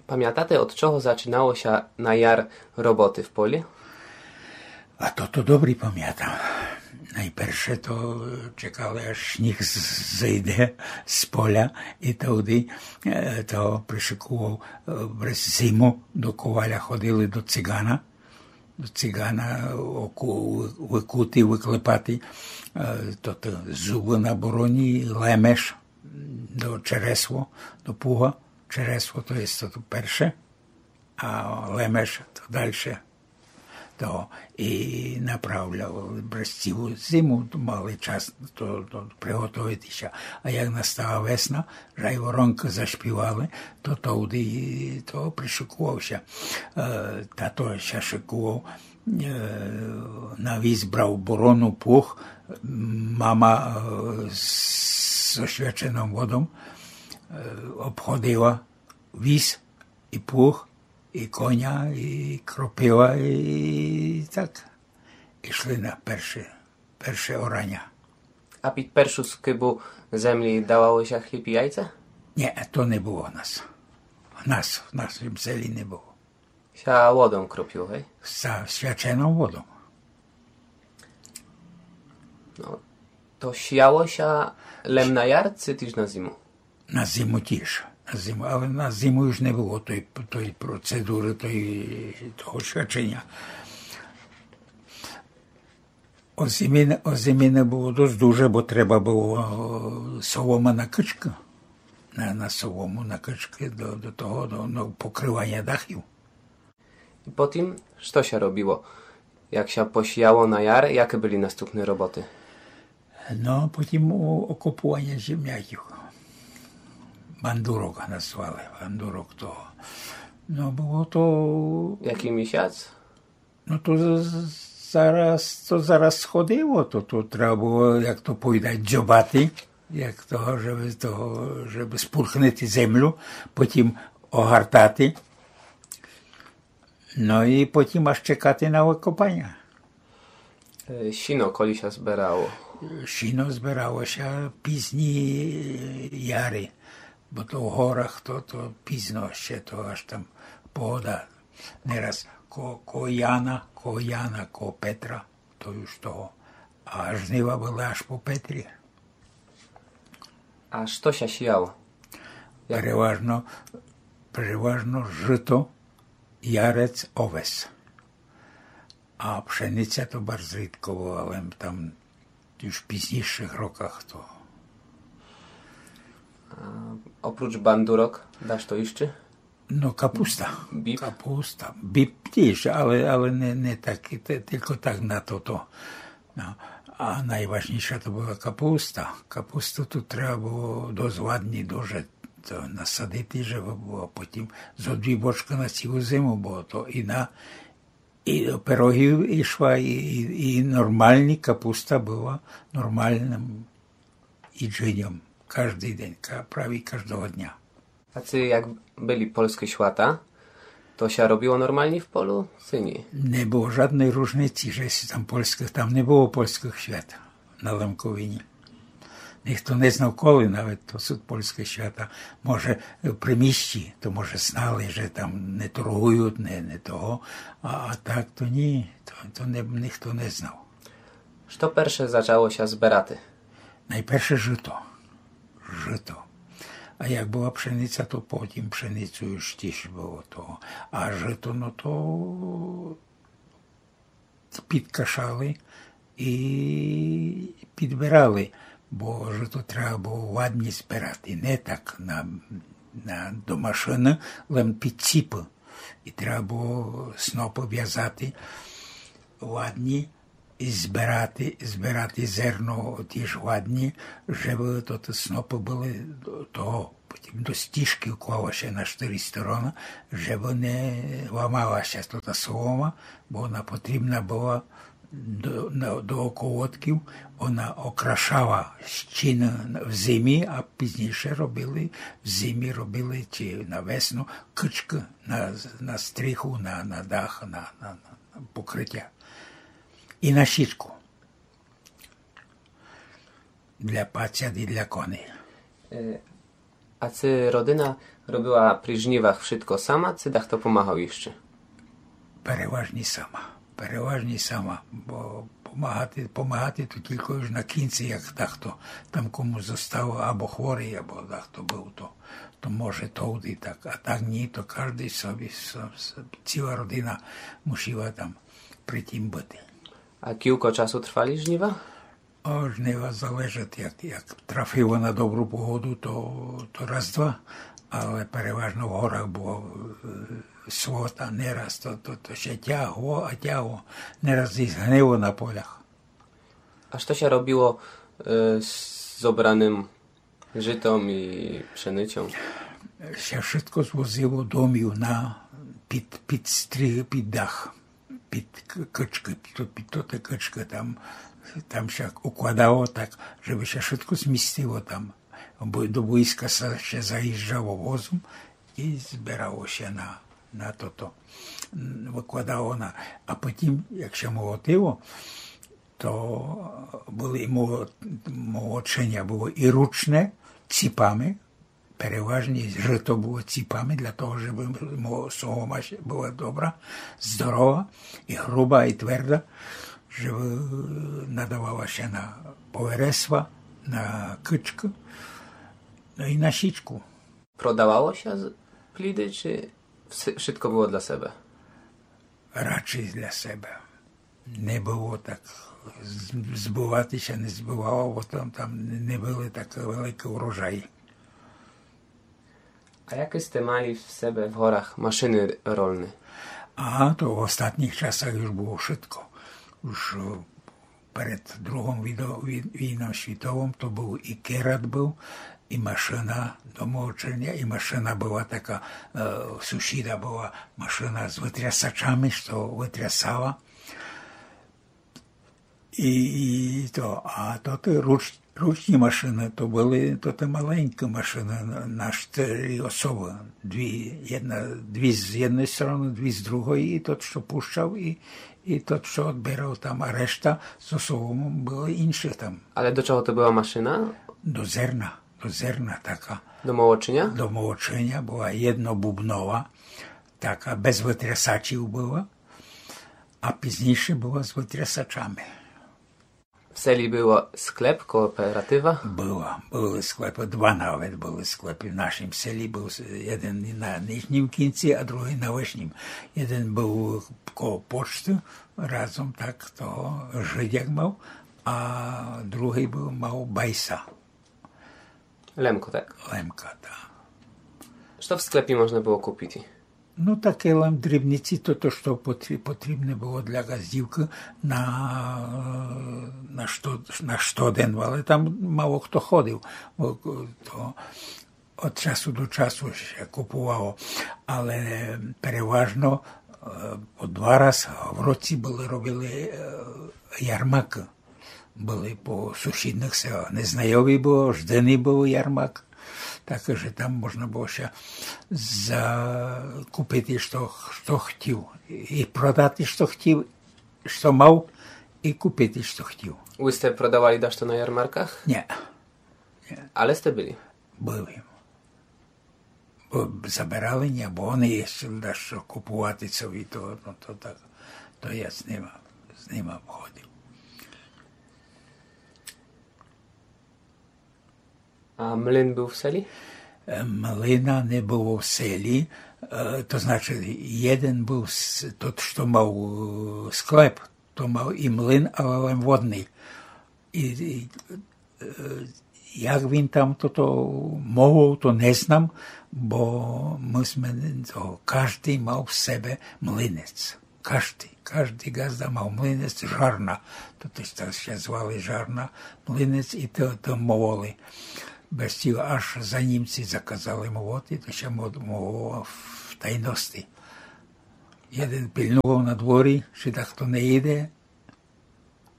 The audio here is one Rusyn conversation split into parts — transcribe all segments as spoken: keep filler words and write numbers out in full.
Памятате, од чого зачинало ся на яр роботы в полі? А то, то добрі памятам. Найперше то чекали, аж сніг з-, зыйде з поля, і тогды, е, то пришыковав, е, през зиму до коваля ходили до цигана. До цигана оку-, выкути, выклепати, е, то, то зубы на бороні, лемеш, до чересло, до пуга. Чересло, то єст то перше, а лемеш то дальше. То і направляв през цілу зиму, мали час то, то приготовити ся. А як настала весна, жайворонкы зашпівали, то тогды то пришыковав ся. Е, тато ся шыковав, е, на віз брав борону, плуг, мама, е, з, з освяченом водом, е, обходила віз і плуг, і коня, і кропива, і так. Ішли на перше, перше ораня. А під першу скыбу землі давало ся хліб і яйця? Ні, то не было в нас. В нас, в нашым селі не было. Ся водом кропило, гей? Са свяченом водом. Но, то сіяло ся лем на яр, ци тіж на зиму? На зиму тіж. На зиму, але на зиму уж не было той, той процедуры, той, того свяченя. О зимі не, о зимі не было досц дуже, бо треба было, о, солома на кычкы. На, на солому, на кычкы до, до того, до, до покрываня дахів. І потім што ся робило, як ся посіяло на яр, якы были наступны роботы? Но, потім о-, окопуваня земляків. Бандурок назвали, бандурок того. Но, было то... Якый місяц? Но, то з-, з-, зараз, то зараз сходило, то, то треба было, як то повідать, дзьобати, як того, жебы того, жебы спурхнити землю, потім огортати. Но і потім аж чекати на выкопаня. Е, сіно коли ся збирало? Сіно збирало ся пізні, е, яри, бо то в горах то, то пізно ще, то аж там погода. Нераз ко, ко Яна, ко Яна, ко Петра, то уж того. А жнива были аж по Петрі. А што ся сіяло? Як? Переважно, переважно жыто, ярец, овес. А пшениця то барз рідко была, лем там уж в пізнійшых роках то. А опруч бандурок, дашто іщы? Но, капуста. Біб? Капуста. Біб тіж, але, але не, не так, те-, тілько так на тото. Но. А найважнійша то была капуста. Капусту ту треба было досц ладні дуже то насадити, жебы было потім зо дві бочкы на цілу зиму, бо то і на, і до пирогів ішла, і, і, і нормалні капуста была нормалным їджыньом каждый день, ка-, праві каждого дня. А ци як были польскы свята, то ся робило нормалні в полю, ци ні? Не было жадной ружниці, же ся там польскых, там не было польскых свят на Лемковині. Нихто не знав, коли навет то сут польскы свята. Може, при місті, то може знали, же там не торгуют, не, не того. А, а так то ні, то, то не, нихто не знав. Што перше зачало ся збирати? Найперше жыто. Жыто. А як была пшениця, то потім пшеницю уж тіж было того. А жыто, но то підкашали і підбирали, бо жыто треба было ладні збирати, не так на, на, до машыны, лем під ціпы. І треба было снопы вязати ладні, і збирати, збирати зерно тіж ладні, жебы то, то снопы были до того, потім до стіжкы вклало ся на штыри стороны, жебы не ламала ся тота солома, бо она потрібна была до, на, до околотків, она окрашала стіны в зимі, а пізнійше робили, в зимі робили, ци на весну, кычкы на, на стріху, на, на дах, на, на, на покрытя. І на січку. Для пацят і для коней. Е, А ци родина робила при жнівах вшытко сама, ци дахто помагав іщы? Переважні сама. Переважні сама, бо помагати, помагати то тілько уж на кінці, як дахто там комусь зостало, або хворый, або дахто быв, то, то може товды так. А так ні, то каждый собі, со-, со-, ціла родина мусила там при тім быти. А кілько часу трвали жнїва? О, жнїва залежать, як, як трафило на добру погоду, то, то раз-два, але переважно в горах было, е, свот, а не раз, то, то, то ся тягло, а тягло, не раз і згнило на полях. А што ся робило, е, з зобраным жытом і пшеницьом? Ся вшытко звозило домів на, під, під стрі-, під дах, під к-, кычкы, під, під тоты кычкы, там, там ся укладало так, жебы ся вшытко змістило там. Бо до войска ся, ся заїжджало возом і збирало ся на, на тото. М, выкладало на, а потім, як ся молотило, то были і моло-, молоченя было і ручне, ціпами, переважні жыто было ціпами, для того, жебы мо-, солома ся была добра, здорова, і груба, і тверда, жебы надавала ся на повересва, на кычкы, но і на січку. Продавало ся з-, пліды, чи вс-, вшытко было для себе? Радше для себе. Не было так, з-, збывати ся не збывало, бо там, там не были так великі урожаї. А якы сте мали в себе в горах машыны рольны? А, то в остатніх часах уж было вшытко. Уж, е, перед другом відо-, вій-, війном світовом то быв і керат быв, і машына до молоченя, і машына была така, е, у сусіда была машына з вытрясачами, што вытрясала. І, і то, а то ты руч-, ручні машыны, то были то ты маленькі машыны на, на штыри особы. Дві, єдна, дві з єдной стороны, дві з другой, і тот, што пущав, і, і тот, што одбирав там, а решта з соломом были іншых там. Але до чого то была машына? До зерна, до зерна така. До молоченя? До молоченя была єднобубнова, така без вытрясачів была, а пізнійше была з вытрясачами. В селі было склеп, кооператива? Было, были склепы, два навет были склепы. В нашім селі быв с-, єден на нижнім кінці, а другый на вышнім. Єден быв коло почты, разом так того Жидяк мав, а другый быв, мав Байса. Лемко, так? Лемка, так. Што в склепі можна было купити? Ну, таке лем дрібниці, то, то, што потрі-, потрібне было для ґаздівкы на, на што-, на штоден, але там мало хто ходив, бо то од часу до часу ся купувало, але переважно, е, по два раз в році были, робили, е, ярмакы. Были по сусідных селах. Незнайові было, жденый быв ярмак. Так же там можна было ся за-, купити, што, што хотів. І продати, што хотів, што мав, і купити, што хотів. Вы сте продавали дашто на ярмарках? Ні. Ні. Але сте были? Были. Бо забирали, ні, бо они іщы дашто купувати собі, то, ну, то так, то я з нима, з нима ходив. А млин быв в селі? Е, млина не было в селі, е, то значить, єден быв с-, тот, што мав, е, склеп, то мав і млин, але лем водный. І, і, е, як він там тото молов, то не знам, бо мы сме, то каждый мав в себе млинець. Каждый, каждый ґазда мав млинець, жарна. То тыж так ся звали жарна, млинець, і то, то мололи. Без тіла аж за німці заказали молоти, то ся мо-, мололо в тайности. Єден пильнував на дворі, чи дахто не іде,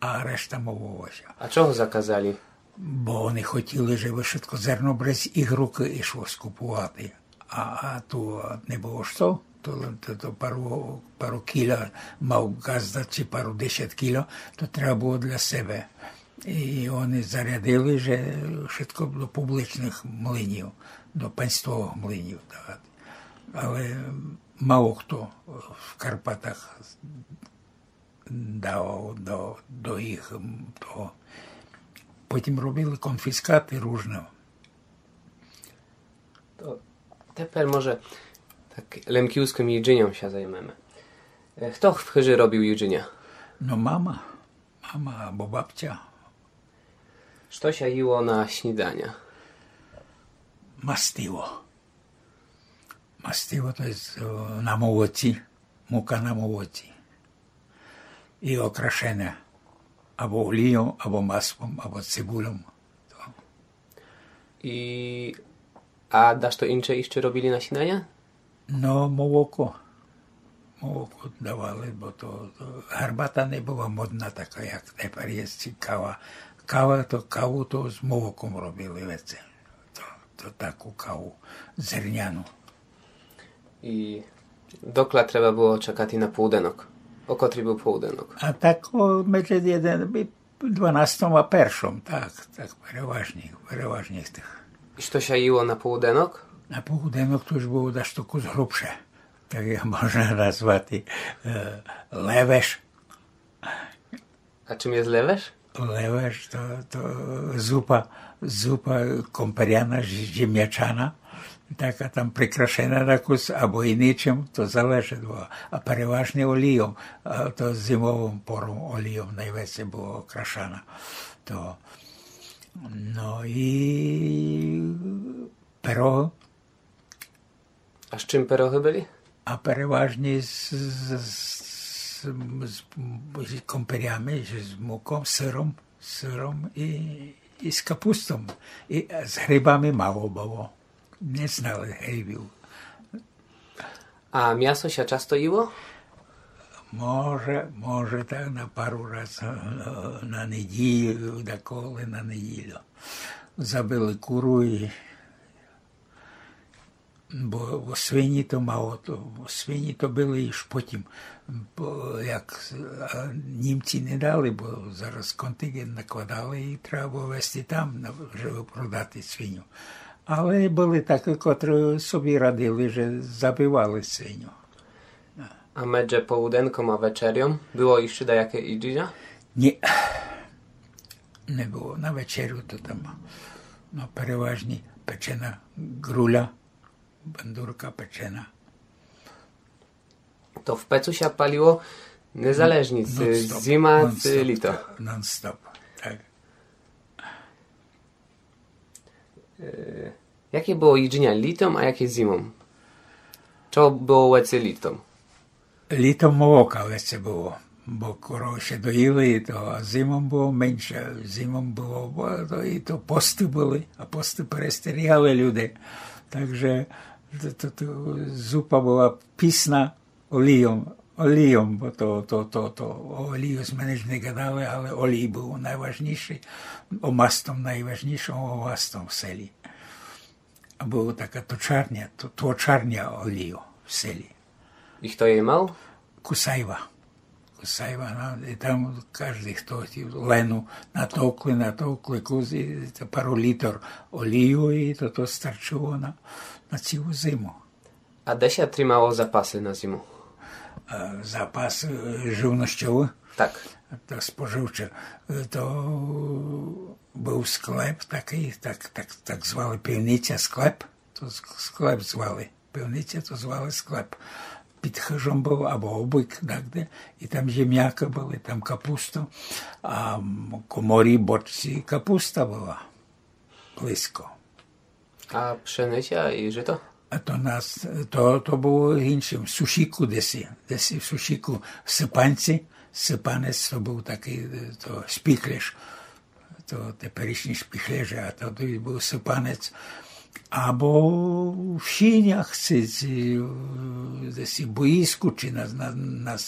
а решта мололо ся. А чого заказали? Бо они хотіли, жебы вшытко зерно без їх рукы ішло скупувати. А, а ту не было што, то, то, то пару, пару кіля мав ґазда, чи пару десят кіля, то треба было для себе. І они зарядили, же вшытко до публичных млинів. до панство млинів давати. Але мало хто в Карпатах давав до, до їх того. Потім робили конфіскаты ружне. То тепер, може, так лемківскым їджыньом ся займеме. Е, хто в хыжы робіл їджыня? Но мама, мама або бабця. Што ся їло на сніданя? Мастиво. Мастиво то є на молоці, мука на молоці. І окрашене або олійом, або маслом, або цибульом. І а дашто інше іщы робіли на сніданя? Но, молоко. Молоко давали, бо то, то гарбата не была модна така, як тепер є, ци кава. Кава то, каву то з молоком робіли веце. То, то таку каву зерняну. І докля треба было чекати на полуденок? О котрій быв полуденок? А так о, медже єден, дванастом а першом, так, так, переважні, переважні з тых. І што ся їло на полуденок? На полуденок то уж было дашто кус грубше. Так як можна назвати е, левеш. А чым є левеш? Левеш то, то зупа, зупа комперяна, зімячана, така там прикрашена на кус, або і нічым, то залежить было. А переважні олійом, а то зимовом пором олійом найвеце было окрашана. То, но і пирогы. А з чым пирогы были? А переважні з, з, з, з, з комперями, з муком, сыром, сыром і, і з капустом. І з грибами мало было. Не знали грибів. А мясо ся часто їло? Може, може, так на пару раз е, на неділю, деколи на неділю. Забили куру і бо, бо свині то мало, то, бо свині то были іж потім, бо як а, німці не дали, бо зараз контингент накладали і треба было вести там, на, жебы продати свиню. Але были такі, котрі собі радили, же забивали свиню. А медже полуденком а вечерьом было іщы даяке їджыня? Ні. Не было. На вечерю то там, но, переважні печена ґруля, бандурка печена. То в пецу ся палило незалежні, ци зима, ци літо. Non-stop, так. Е, яке было їджыня літом, а яке зимом? Што было веце літом? Літом молока веце было, бо коровы ся доїли, то а зимом было менше. Зимом было, бо то, і то посты были, а посты перестерігали люди. Так же то, то, то зупа была пісна, олійом, олійом, бо то, то, то, то о олію сьме ніч не гадали, але олій быв найважнішый, о мастом найважнішый, о мастом в селі. А была така точарня, то, точарня олію в селі. І хто її мав? Кусайва. Кусайва, но, і там каждый, хто хотів, лену натовкли, натовкли кус, і то пару літр олію, і то, то старчыло на, на цілу зиму. А де ся тримало запасы на зиму? Е, запас е, живнощовый? Так. То споживче. Е, то быв склеп такый, так, так, так звали пивниця склеп. То ск- склеп звали. Пивниця то звали склеп. Під хыжом быв, або обык, так де. І там земякы были, там капуста. А м, коморі, бочці капуста была близько. А пшениця і жито? А то нас, то, то было іншым, в сушіку десь, десь в сушіку сыпанці, сыпанець то быв такый, е, то шпіклеш, то теперішні шпіклежі, а тоді быв сыпанець. Або в сінях, ци, ци, е, десь в боїску, чи на, на, на, с-